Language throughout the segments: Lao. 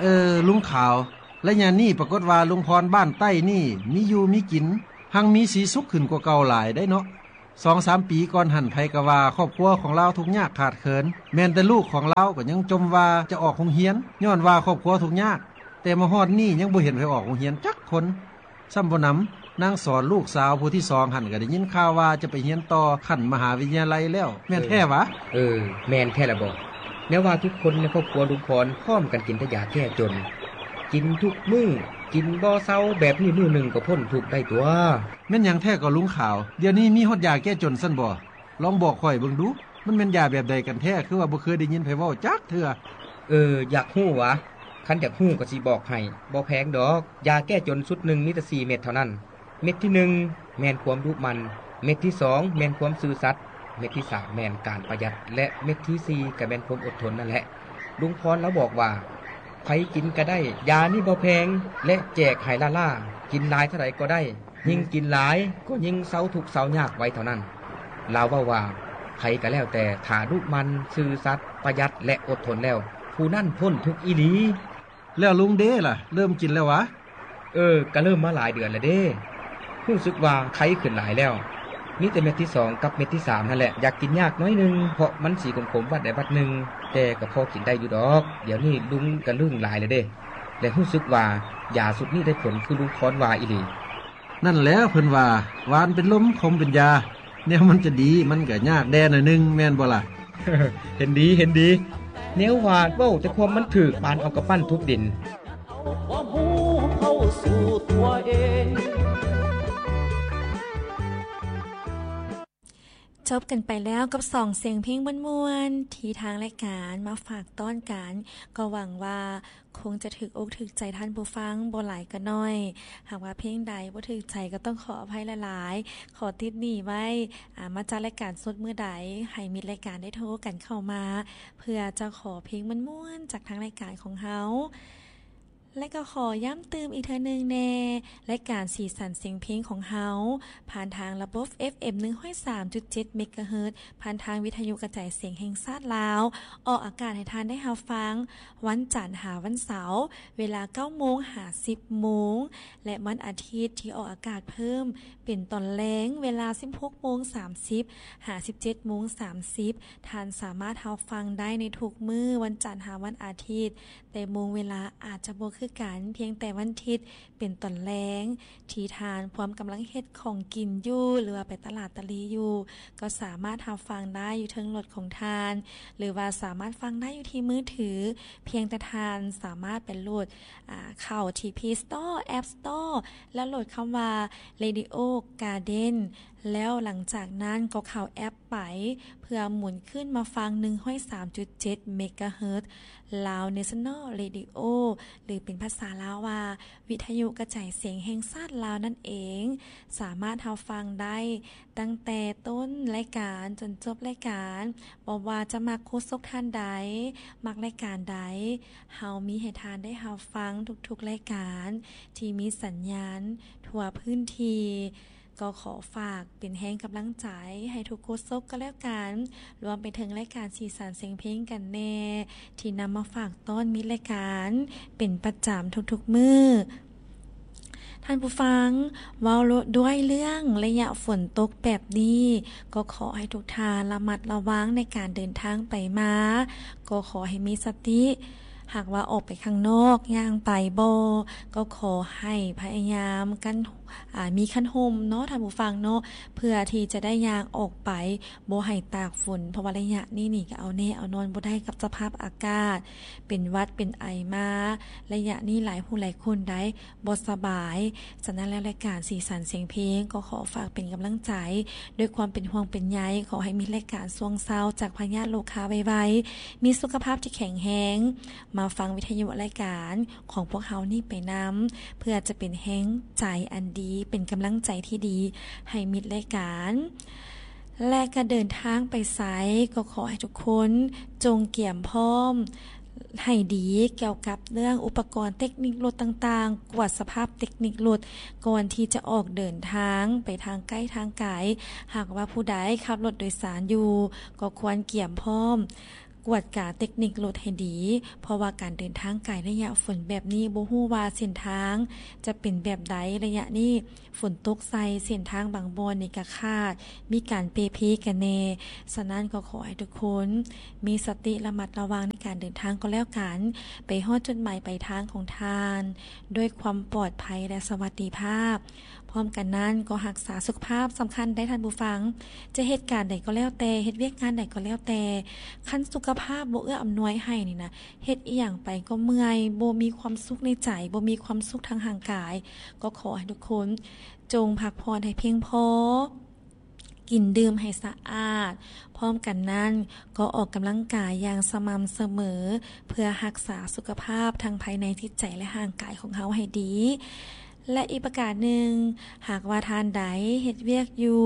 ເອີ ລຸງຂາວ, ໄລຍະນີ້ປາກົດວ່າລຸງພອນບ້ານໃຕ້ນີ້ມີຢູ່ມີກິນ, ຮັ່ງມີສີສຸກຂຶ້ນກວ່າເກົ່າຫຼາຍໄດ໋ເນາະ. ສອງສາມປີກ່ອນຫັ້ນ ໃຜກໍວ່າຄອບຄົວຂອງລາວທຸກຍາກຂາດເຂີນ, ແມ່ນແຕ່ລູກຂອງລາວກໍຍັງຈົ່ມວ່າຈະອອກໂຮງຮຽນ ຍ້ອນວ່າຄອບຄົວທຸກຍາກ, ແຕ່ມາຮອດນີ້ຍັງບໍ່ເຫັນໃຜອອກໂຮງຮຽນຈັກຄົນ. ຊ້ຳບໍ່ໜຳ, ນາງສອນລູກສາວຜູ້ທີສອງຫັ້ນ ກໍໄດ້ຍິນຂ່າວວ່າຈະໄປຮຽນຕໍ່ຂັ້ນມະຫາວິທະຍາໄລແລ້ວ, ແມ່ນແທ້ຫວາ? ເອີ ແມ່ນແທ້ລະບໍ. ແນວວ່າທຸກຄົນໃນຄອບຄົວລຸງພອນພ້ອມກັນກິນແຕ່ຢາແກ້ຈົນ, ກິນທຸກມື້, ກິນບໍ່ເຊົາ, ແບບນີ້ມື້ໜຶ່ງກໍພົ້ນທຸກໄດ້ຕົວະ. ແມ່ນຫຍັງແທ້ກໍລຸງຂາວ? ດຽວນີ້ມີຮອດຢາແກ້ຈົນຊັ້ນບໍ? ລອງບອກຂ້ອຍເບິ່ງດູ, ມັນແມ່ນຢາແບບໃດກັນແທ້? ຄືວ່າບໍ່ເຄີຍໄດ້ຍິນໃຜເວົ້າຈັກເທື່ອ. ເອີ ຢາກຮູ້ຫວາ? ຄັນຢາກຮູ້ກໍຊິບອກໃຫ້, ບໍ່ແພງດອກ. ຢາແກ້ຈົນຊຸດໜຶ່ງມີແຕ່ສີ່ເມັດເທົ່ານັ້ນ. ເມັດທີໜຶ່ງແມ່ນຄວາມດຸໝັ່ນ, ເມັດທີສອງແມ່ນຄວາມຊື່ສັດ, ເມັດທີສາມແມ່ນການປະຢັດ ແລະ ເມັດທີສີ່ກໍແມ່ນຄວາມອົດທົນນັ້ນແຫຼະ. ລຸງພອນລາວບອກວ່າ ໃຜກິນກໍໄດ້, ຢານີ້ບໍ່ແພງ ແລະ ແຈກໃຫ້ລ້າໆ, ກິນຫຼາຍເທົ່າໃດກໍໄດ້. ຍິ່ງກິນຫຼາຍກໍຍິ່ງເຊົາທຸກເຊົາຍາກໄວເທົ່ານັ້ນ. ລາວເວົ້າວ່າ ໃຜກໍແລ້ວແຕ່ ຖ້າດຸໝັ່ນ, ຊື່ສັດ, ປະຢັດ ແລະ ອົດທົນແລ້ວ, ຜູ້ນັ້ນພົ້ນທຸກອີ່ຫຼີ. ແລ້ວລຸງເດລະ, ເລີ່ມກິນແລ້ວຫວາ? ເອີ, ກະເລີ່ມມາຫຼາຍເດືອນແລ້ວເດ້. ຮູ້ສຶກວ່າໄຄຂຶ້ນຫຼາຍແລ້ວ. ມີແຕ່ເມັດທີສອງກັບເມັດທີສາມຫັ້ນແຫຼະ ຢາກກິນຍາກໜ້ອຍໜຶ່ງ, ເພາະມັນສີຂົມໆວັດໃດວັດໜຶ່ງ, ແຕ່ກໍພໍກິນໄດ້ຢູ່ດອກ. ດຽວນີ້ລຸງກະລຶ້ງຫຼາຍແລ້ວເດ້ ແລະ ຮູ້ສຶກວ່າຢາຊຸດນີ້ໄດ້ຜົນຄືລຸງພອນວ່າອີ່ຫຼີ. ນັ້ນແຫຼະ ເພິ່ນວ່າ ຫວານເປັນລົມ ຂົມເປັນຢາ, ແນວມັນຈະດີ ມັນກະຍາກແດ່ໜ້ອຍໜຶ່ງ ແມ່ນບໍ່ລະ? ເຫັນດີ ເຫັນດີ. ແນວວ່າເວົ້າແຕ່ຄວາມມັນຖືກ ປານເອົາກຳປັ້ນທຸບດິນ. ຈົບກັນໄປແລ້ວກັບສອງສຽງເພງມ່ວນໆ ທີ່ທາງລາຍການມາຝາກຕ້ອນກັນ, ກໍຫວັງວ່າຄົງຈະຖືກອົກຖືກໃຈທ່ານຜູ້ຟັງບໍ່ຫຼາຍກໍໜ້ອຍ. ຫາກວ່າເພງໃດບໍ່ຖືກໃຈກໍຕ້ອງຂໍອະໄພຫຼາຍໆ, ຂໍຕິດໜີ້ໄວ້, ອາ, ມາຈັດລາຍການສົດມື້ໃດ ໃຫ້ມິດລາຍການໄດ້ໂທກັນເຂົ້າມາ ເພື່ອຈະຂໍເພງມ່ວນໆຈາກທາງລາຍການຂອງເຮົາ. ແລະກໍຂໍຢ້ຳຕື່ມອີກເທື່ອໜຶ່ງແດ່, ລາຍການສີສັນສຽງເພງຂອງເຮົາ ຜ່ານທາງລະບົບ ເອັຟເອັມ ໜຶ່ງຮ້ອຍສາມຈຸດເຈັດ ເມກາເຮີດ, ຜ່ານທາງວິທະຍຸກະຈາຍສຽງແຫ່ງຊາດລາວ, ອອກອາກາດໃຫ້ທ່ານໄດ້ຮັບຟັງ ວັນຈັນຫາວັນເສົາ ເວລາ ເກົ້າໂມງຫາ ສິບໂມງ ແລະ ວັນອາທິດທີ່ອອກອາກາດເພີ່ມເປັນຕອນແລງ ເວລາ ສິບຫົກໂມງສາມສິບ ຫາ ສິບເຈັດໂມງສາມສິບ. ທ່ານສາມາດຮັບຟັງໄດ້ໃນທຸກມື້ ວັນຈັນຫາວັນອາທິດ, ແຕ່ໂມງເວລາອາດຈະບໍ່ຄືກັນ, ພຽງແຕ່ວັນທິດເປັນຕອນແລງ ທີ່ທ່ານພວມກຳລັງເຮັດຂອງກິນຢູ່ ຫຼືວ່າໄປຕະຫຼາດຕະຫຼີຢູ່ ກໍສາມາດຮັບຟັງໄດ້ຢູ່ເທິງລົດຂອງທ່ານ ຫຼືວ່າສາມາດຟັງໄດ້ຢູ່ທີ່ມືຖື. ພຽງແຕ່ທ່ານສາມາດໄປໂຫຼດ ອາ ເຂົ້າທີ່ Play Store, App Store ແລ້ວໂຫຼດຄຳວ່າ Radio Garden ແລ້ວຫຼັງຈາກນັ້ນກໍເຂົ້າແອັບໄປ ເພື່ອໝູນຂຶ້ນມາຟັງ ໜຶ່ງຮ້ອຍສາມຈຸດເຈັດ ເມກາເຮີດ Lao National Radio ຫຼືເປັນພາສາລາວວ່າ ວິທະຍຸກະຈາຍສຽງແຫ່ງຊາດລາວນັ້ນເອງ, ສາມາດຮັບຟັງໄດ້ຕັ້ງແຕ່ຕົ້ນລາຍການຈົນຈົບລາຍການ. ບໍ່ວ່າຈະມັກໂຄສົກທ່ານໃດ, ມັກລາຍການໃດ, ເຮົາມີໃຫ້ທ່ານໄດ້ຮັບຟັງທຸກໆລາຍການທີ່ມີສັນຍານທົ່ວພື້ນທີ່. ກໍຂໍຝາກເປັນແຮງກຳລັງໃຈໃຫ້ທຸກໂຄສົກກໍແລ້ວກັນ, ລວມໄປເຖິງລາຍການສີສັນສຽງເພງກັນແດ່ ທີ່ນຳມາຝາກຕ້ອນມິດລາຍການເປັນປະຈຳທຸກໆມື້. ທ່ານຜູ້ຟັງ, ເວົ້າດ້ວຍເລື່ອງໄລຍະຝົນຕົກແບບນີ້, ກໍຂໍໃຫ້ທຸກທ່ານລະມັດລະວັງໃນການເດີນທາງໄປມາ, ກໍຂໍໃຫ້ມີສະຕິ. ຫາກວ່າອອກໄປຂ້າງນອກ, ຍ່າງໄປບໍ່, ກໍຂໍໃຫ້ພະຍາຍາມກັນ ອາ ມີຄັນຮົ່ມເນາະ ທ່ານຜູ້ຟັງເນາະ, ເພື່ອທີ່ຈະໄດ້ຍ່າງອອກໄປ, ບໍ່ໃຫ້ຕາກຝົນ, ເພາະວ່າໄລຍະນີ້ນີ້ກໍເອົາແນ່ເອົານອນບໍ່ໄດ້ກັບສະພາບອາກາດ, ເປັນຫວັດເປັນໄອມາ, ໄລຍະນີ້ຫຼາຍຜູ້ຫຼາຍຄົນໄດ໋ບໍ່ສະບາຍ. ສະນັ້ນແລ້ວ ລາຍການສີສັນສຽງເພງກໍຂໍຝາກເປັນກຳລັງໃຈ ດ້ວຍຄວາມເປັນຫ່ວງເປັນໃຍ, ຂໍໃຫ້ມີລາຍການຊ່ວງເຊົາຈາກພະຍາດໂລຄາໄວໆ, ມີສຸຂະພາບທີ່ແຂງແຮງ, ມາຟັງວິທະຍຸລາຍການ ຂອງພວກເຮົານີ້ໄປນຳ, ເພື່ອຈະເປັນແຮງໃຈອັນດີ, ເປັນກຳລັງໃຈທີ່ດີໃຫ້ມິດລາຍການ. ແລະ ກະເດີນທາງໄປໃສ ກໍຂໍໃຫ້ທຸກຄົນຈົ່ງກຽມພ້ອມໃຫ້ດີກ່ຽວກັບເລື່ອງອຸປະກອນເຕັກນິກລົດຕ່າງໆ, ກວດສະພາບເຕັກນິກລົດກ່ອນທີ່ຈະອອກເດີນທາງໄປທາງໃກ້ທາງໄກ. ຫາກວ່າຜູ້ໃດຂັບລົດໂດຍສານຢູ່ ກໍຄວນກຽມພ້ອມ ກວດກາເຕັກນິກລົດໃຫ້ດີ ເພາະວ່າການເດີນທາງໄກໄລຍະຝົນແບບນີ້ ບໍ່ຮູ້ວ່າເສັ້ນທາງຈະເປັນແບບໃດ. ໄລຍະນີ້ຝົນຕົກໃສ່ ເສັ້ນທາງບາງບ່ອນນີ້ກະຂາດ ມີການເປ່ເພກັນແດ່. ສະນັ້ນກໍຂໍໃຫ້ທຸກຄົນມີສະຕິລະມັດລະວັງໃນການເດີນທາງກໍແລ້ວກັນ ໄປຮອດຈຸດໝາຍປາຍທາງຂອງທ່ານ ດ້ວຍຄວາມປອດໄພ ແລະ ສະຫວັດດີພາບ. ພ້ອມກັນນັ້ນກໍຮັກສາສຸຂະພາບສຳຄັນໄດ໋ທ່ານຜູ້ຟັງ. ຈະເຮັດການໃດກໍແລ້ວແຕ່ ເຮັດວຽກງານໃດກໍແລ້ວແຕ່ ຄັນສຸຂະພາບບໍ່ເອື້ອອຳນວຍໃຫ້ນີ້ນະ ເຮັດອີ່ຫຍັງໄປກໍເມື່ອຍ ບໍ່ມີຄວາມສຸກໃນໃຈ ບໍ່ມີຄວາມສຸກທາງຮ່າງກາຍ. ກໍຂໍໃຫ້ທຸກຄົນຈົ່ງພັກຜ່ອນໃຫ້ພຽງພໍ ກິນດື່ມໃຫ້ສະອາດ. ພ້ອມກັນນັ້ນກໍອອກກຳລັງກາຍຢ່າງສະໝ່ຳສະເໝີ ເພື່ອຮັກສາສຸຂະພາບທັງພາຍໃນຈິດໃຈ ແລະ ຮ່າງກາຍຂອງເຮົາໃຫ້ດີ. ແລະ ອີກປະການໜຶ່ງ, ຫາກວ່າທ່ານໃດເຮັດວຽກຢູ່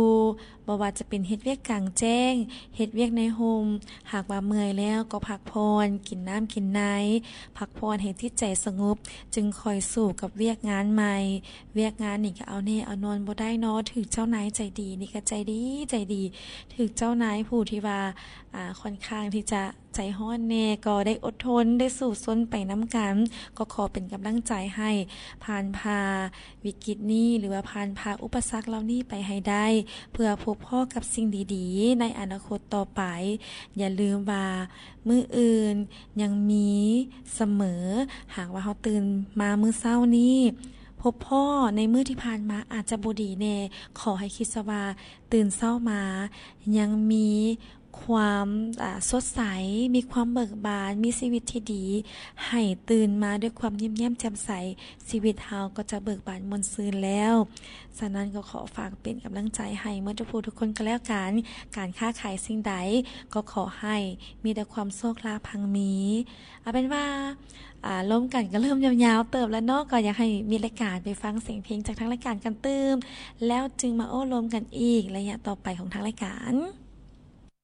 ບໍ່ວ່າຈະເປັນເຮັດວຽກກາງແຈ້ງ, ເຮັດວຽກໃນຮົ່ມ, ຫາກວ່າເມື່ອຍແລ້ວກໍພັກຜ່ອນ, ກິນນ້ຳກິນໃນ, ພັກຜ່ອນໃຫ້ຈິດໃຈສະຫງົບ, ຈຶ່ງຄ່ອຍສູ້ກັບວຽກງານໃໝ່. ວຽກງານນີ້ກໍເອົາແນ່ເອົານອນບໍ່ໄດ້ເນາະ, ຖືກເຈົ້ານາຍໃຈດີ ນີ້ກໍໃຈດີ ໃຈດີ, ຖືກເຈົ້ານາຍຜູ້ທີ່ວ່າ ອາ ຂ້ອນຂ້າງທີ່ຈະ ໃຈຮ້ອນແດ່ ກໍໄດ້ອົດທົນ ໄດ້ສູ້ຊົນໄປນຳກັນ. ກໍຂໍເປັນກຳລັງໃຈໃຫ້ຜ່ານຜ່າວິກິດນີ້ ຫຼືວ່າຜ່ານຜ່າອຸປະສັກເຫຼົ່ານີ້ໄປໃຫ້ໄດ້ ເພື່ອພົບພໍ້ກັບສິ່ງດີໆໃນອະນາຄົດຕໍ່ໄປ. ຢ່າລືມວ່າມື້ອື່ນຍັງມີສະເໝີ. ຫາກວ່າເຮົາຕື່ນມາມື້ເຊົ້ານີ້ ພົບພໍ້ໃນມື້ທີ່ຜ່ານມາອາດຈະບໍ່ດີແດ່, ຂໍໃຫ້ຄິດຊະວ່າ ຕື່ນເຊົ້າມາຍັງມີຄວາມ ອາ ສົດໃສ, ມີຄວາມເບີກບານ, ມີຊີວິດທີ່ດີ, ໃຫ້ຕື່ນມາດ້ວຍຄວາມຍິ້ມແຍ້ມແຈ່ມໃສ, ຊີວິດເຮົາກໍຈະເບີກບານມ່ວນຊື່ນແລ້ວ. ສະນັ້ນກໍຂໍຝາກເປັນກຳລັງໃຈໃຫ້ໝົດທຸກຜູ້ທຸກຄົນກໍແລ້ວກັນ. ການຄ້າຂາຍສິ່ງໃດກໍຂໍໃຫ້ມີແຕ່ຄວາມໂຊກລາບຮັ່ງມີ. ເອົາເປັນວ່າ ອາ ລົມກັນກໍເລີ່ມຍາວໆເຕີບແລ້ວເນາະ, ກໍຢາກໃຫ້ມີລາຍການໄປຟັງສຽງເພງຈາກທາງລາຍການກັນຕື່ມ ແລ້ວຈຶ່ງມາໂອ້ລົມກັນອີກໄລຍະຕໍ່ໄປຂອງທາງລາຍການ.